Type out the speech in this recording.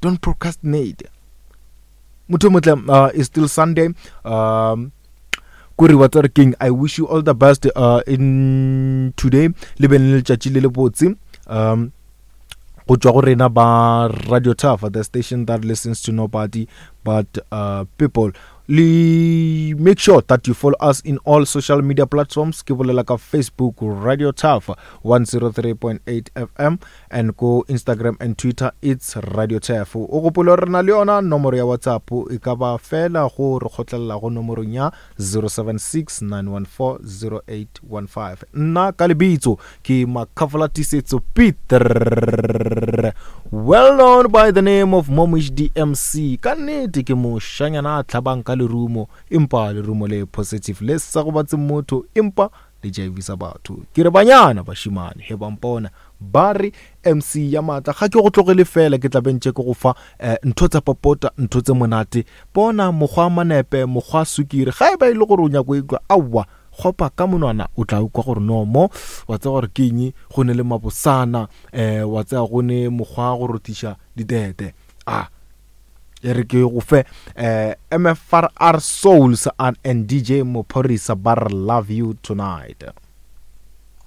Don't procrastinate. Motho motle, it's still Sunday. Kore wa tsare king, I wish you all the best in today. Le be le letšatši le le botse. Go tšwa go rena ba Radio Turf, the station that listens to nobody but people. Le make sure that you follow us in all social media platforms. Ke bolela ka Facebook, Radio Turf 103.8 FM, and go Instagram and Twitter, it's Radio Turf. O gopole gore re na le yona nomoro ya WhatsApp, e ka ba fela go re kgotlelela go nomorong ya 0769140815. Nna ka lebitso ke Makhafola Tisetso Peter, well known by the name of Momish DMC. Ka nnete ke moshanyana a tlhabang ka lerumo, empa lerumo le positive le sa gobatse motho, empa le jaivisa batho. Ke re banyana bashimane he ba mpona ba re MC ya maatla, ga ke go tlogele fela, ke tla bentše ke go fa ntho tsa popota, ntho tse monate. Bona mokgwa manepe, mokgwa sukiri, ga e ba e le gore o nyako ikwa, aowa, gopa ka monwana o tla ukwa gore no mo wa tseba gore ke eng, go ne le mabosana, wa tseba go ne mokgwa go rothiša ditete. A e re ke go fe MFRR Souls and DJ Mophorisa ba re love you tonight.